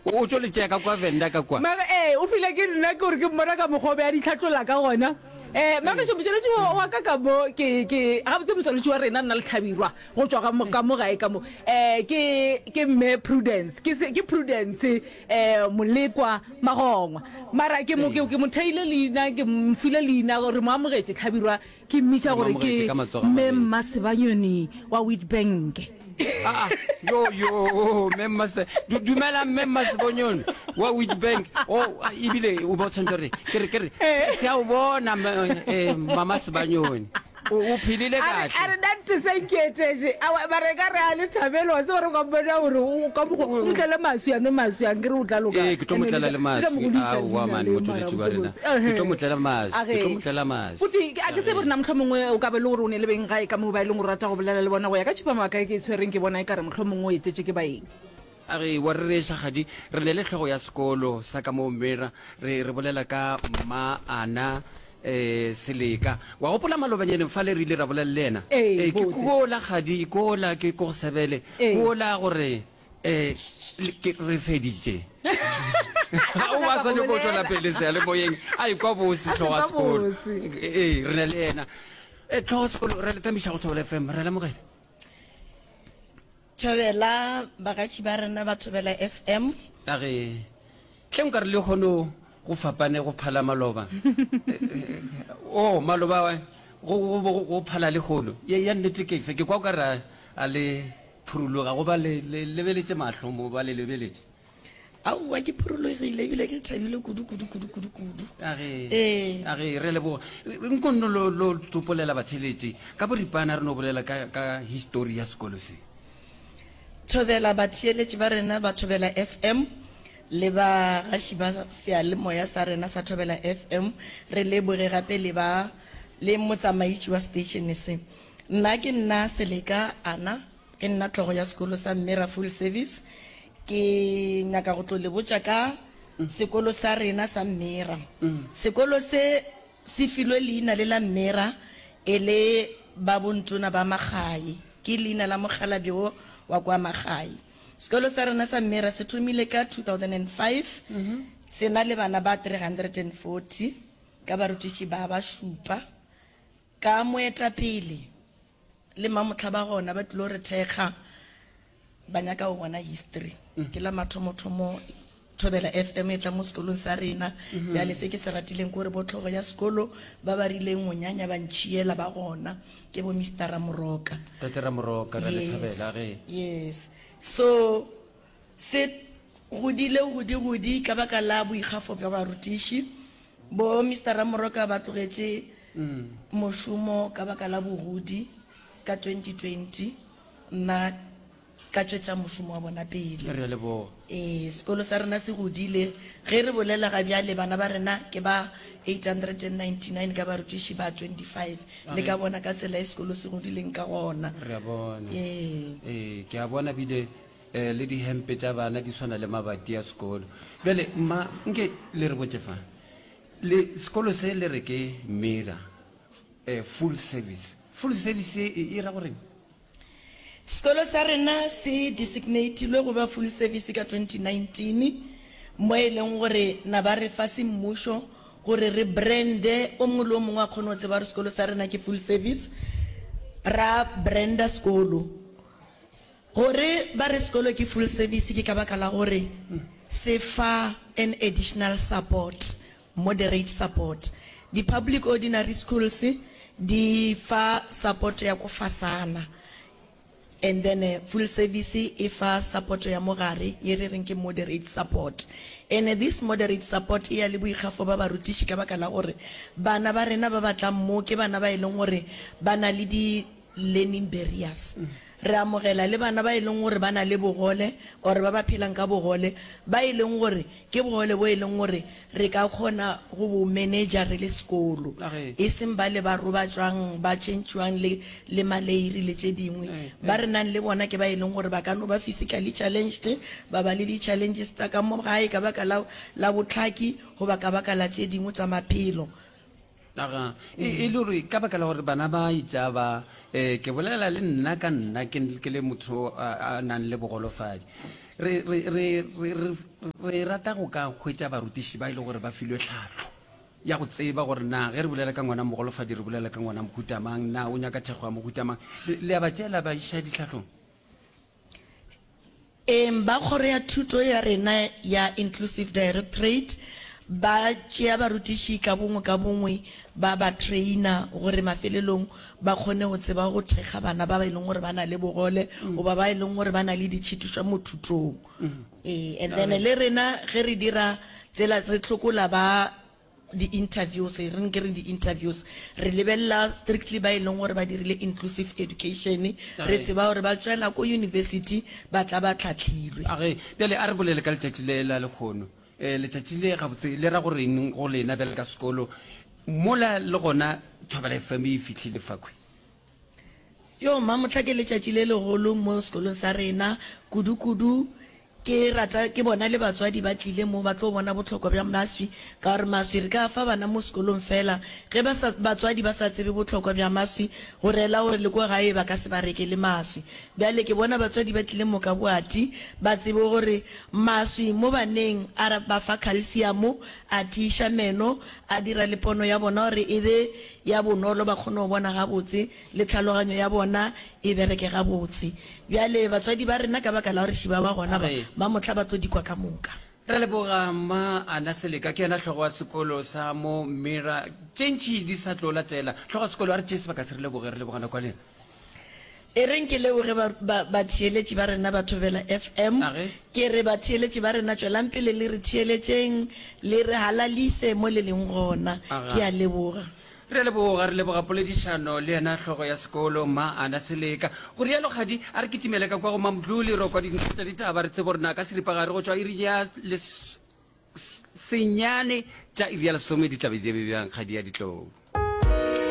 O tšo le tšea ka kwa Venda ka kwa. Mara ee, o file ke nna ke gore ke mmona ka mokgwa o be a di hlatlola ka gona. Um Magešo, motšweletši wa wa ka ka mo ke ke gabotse motšweletši wa rena nna le Hlabirwa go tšwa ka mo ka mo gae ka mo um ke ke mme Prudence ke se ke Prudence um Molekwa Magongwa. Mara ke mo ke ke mo theile leina ke mo file leina re mo amogetše Hlabirwa Ke mmitša Re mo gore ke amogetše ka matsogo a Mme mabedi. Mmasebanyoni wa Witbank. Aa, yo, yo, Mme Mmase, du, dumela Mme Mmasebonyoni wa Witbank. Oh, ebile o ba o tshwanetse gore, ke re, ke re, se, se a o bona, mme, eh, Mama Sebanyoni. O, o phelile A re, a kahle. re, nna se nketetše. Aowa, mara e ka re a le thabele, wa tseba gore o ka mmona gore o ka mokgwa, o mo tlele maswi, a nwe maswi, a nkere o tla loka. Ee, ke tlo mo Ene tlela le le tla, le tla mo maswi. godiša Aowa, leina man, le, mara motšweletši wa rena. botsebotse. Ke tlo mo Ehe. tlela maswi, A ke tlo ge. mo tlela maswi. Futhi, a ke tsebe gore na mohlomongwe o ka be le gore o ne le beng gae ka moo ba e leng gore o rata go bolela le bona go ya ka tšhupamabaka e ke e tshwereng ke bona e ka re mohlomongwe o etetše ke baeng. A re, Wa rereša, Kgadi, re ne le hlogo ya sekolo sa ka moo Mira, re, re bolela ka Mma Ana eh, Seleka. Wa gopola malobanyaneng fale re ile ra bolela le yena? Ee, Eh, ke botse. kola, Kgadi, kola, ke ko go sebele. Ee. Kola gore eh, le- ke, re feditše. A O sa ba nyaka sa go nyako go tšwela bolela. pele seyalemoyeng, a ekwa bose A hlogo ya se kwa sekolo. bose. Ee, re na le yena. Eh, hlogo ya sekolo, re le tamiša go Thobela FM, re a lemogela. Thobela bagatši ba rena ba Thobela FM. A re, Hle nka re lehono go fapane go phala maloba. O, maloba go, go, go, go phala lehono. Ye, ya nnete ke efe? Ke kwa o ka re a le phuruloga go ba le, le lebeletše mahlo mo ba le lebeletše. Aowa, ke phurologile ebile ke thabile kudu, kudu, kudu, kudu, kudu. A re, Ee. a re, re leboga. Nko nno lo, lo tsopolela batheletši ka boripana re no bolela ka, ka histori ya sekolo se. Thobela batheeletši ba rena ba Thobela FM le bagaši ba seyalemoya sa rena sa Thobela FM. Re leboge gape le ba le motsamaiši wa seteišene se. Nna ke nna Seleka Ana. Ke nna hlogo ya sekolo sa Mmera Full Service. Ke nyaka go tlo le botša ka sekolo sa rena sa Mmera. Sekolo se se filwe leina le la Mmera e le ba bontona ba Magae. Ke leina la mokgalabje wo wa kwa Magae. Sekolo sa rena sa Mmera se thomile ka 2005. Se na le bana ba 340 ka barutiši ba ba šupa ka moetapele. Le mamohla ba gona ba tlilo re thekga, ba nyaka go bona history. Ke la mathomothomo Thobela FM e tla mo sekolong sa rena. Bjale se ke se ratileng ke gore bo hlogo ya sekolo ba ba rileng go nyanya ba ntšhiela ba gona, ke bo Mister Ramoroka. Tate Ramoroka, re a le Yes, thabela ge. yes. So se godile godi-godi ka baka la boikgafo bja barutiši. Bo Mister Ramoroka ba tlogetše mošomo ka baka la bogodi ka 2020, nna ka tšwetša mošomo wa bona pele. Re a leboga. Ee, sekolo sa rena se godile. Ge re bolela ga bjale bana ba rena ke ba 899 ka barutiši ba 25. Le ka bona ka tsela e sekolo se godileng ka gona. Re a bona. Ee. Ee, ke a bona bile eh, le dihempe tša bana di swana le mabati a sekolo. Bjale mma, nke le re botše fa, le sekolo se le re ke Mira eh, full service. Full service e, e, e ra goreng? Sekolo sa rena se designatilwe go ba full service ka 2019, mo e leng gore na ba re fa semmušo gore re brande, o mongwe le o mongwe a kgone go tseba gore sekolo sa rena ke full service. Ra branda sekolo. Gore ba re sekolo ke full service ke ka baka la gore se fa an additional support, moderate support. Di public ordinary schools di fa support ya ko fasana and then full service e fa support ya mo gare ye re reng ke moderate support. And this moderate support e ya le boikgafo ba barutiši ka baka la gore bana ba rena ba ba tlang mo ke bana ba e leng gore ba na le di learning barriers. Re amogela le bana ba e leng gore ba na le bogole or ba ba phelang ka bogole, ba e leng gore ke bogole bo e leng gore re ka kgona go bo manager re le sekolo, e seng bale ba robatšwang, ba tšhentšhiwang le, le maleiri le tše dingwe. Ba re nang le bona ke ba e leng gore ba ka no ba physically challenged, ba ba le di-challenges tsa ka mo gae ka baka la, la bohlaki goba ka baka la tše dingwe tsa maphelo. Aga, e, e le gore ka baka la gore bana ba itša ba, eh, ke bolela le nna ka nna ke, ke le motho a, a nang le bogolofadi. Re, re, re, re, re, re rata go ka hwetša barutiši ba e le gore ba filwe tlhahlo ya go tseba gore na ge re bolela ka ngwana mogolofadi re bolela ka ngwana mohuta mang, na o nyaka thekgo ya mohuta mang. Le, le a ba tšeela ba iša ditlhahlong? Eng, ba kgoro ya thuto ya rena ya Inclusive Directorate ba tšea barutiši ka bongwe ka bongwe ba ba trainer gore mafelelong ba kgone go tseba go thekga bana ba ba e leng gore ba na le bogole goba ba e leng gore ba na le ditšhitišo mo thutong. Ee, and then le rena ge re dira tsela re hlokola ba di-interviews, e reng ke re di-interviews, re lebelela strictly ba e leng gore ba dirile inclusive education, re tseba gore ba tšwela ko university ba tla ba tlhahlilwe. Age, bjale a re bolele ka letšatši le la lekgono. Um letšatši le gabotse le ra go reng go lena bjale ka sekolo mola le gona Thobela FM e fihlile fakhwi? Yo, Mamohla ke letšatši le legolo mo sekolong sa rena, kudu-kudu ke rata ke bona le batswadi ba tlile mo ba tlo bona bohlokwa bja maswi, ka gore maswi re ka a fa bana mo sekolong fela ge ba sa, batswadi ba sa tsebe bohlokwa bja maswi go rela gore le ko gae ba ka se ba rekele maswi. Bjale ke bona batswadi ba tlile mo ka boati ba tsebe gore maswi mo baneng a ba fa calcium, a tiiša meno, a dira le pono ya bona gore e be ya bonolo ba kgone go bona gabotse le tlhaloganyo ya bona e bereke gabotse. Bjale batswadi ba rena ka baka la gore šiba ba gona ba, ba mohla ba tlo di kwa ka moka. Re leboga Mma Ana Seleka, ke yena hlogo wa sekolo sa mo Mira. Tše ntši di sa tlo latela. Hlogo wa sekolo, a re tšee sebaka se re leboge, re leboga nako ya lena. E reng ke leboge ba, ba, batheeletši ba rena ba Thobela FM. A ge. Ke re batheeletši ba rena tšwelang pele le re theeletšeng, le re halalise mo le leng gona. Aga. Ke a leboga. Re a leboga, re leboga poledišano le yena hlogo ya sekolo, Mma Ana Seleka. Go rialo kgadi, a re kitimele ka kwa go Mamdluli ro kwa dintlha tša ditaba re tsebe gore na ka seripagare go tšwa iri ya les, senyane tša iri ya lesome di tla be di be bjang kgadi ya ditlou.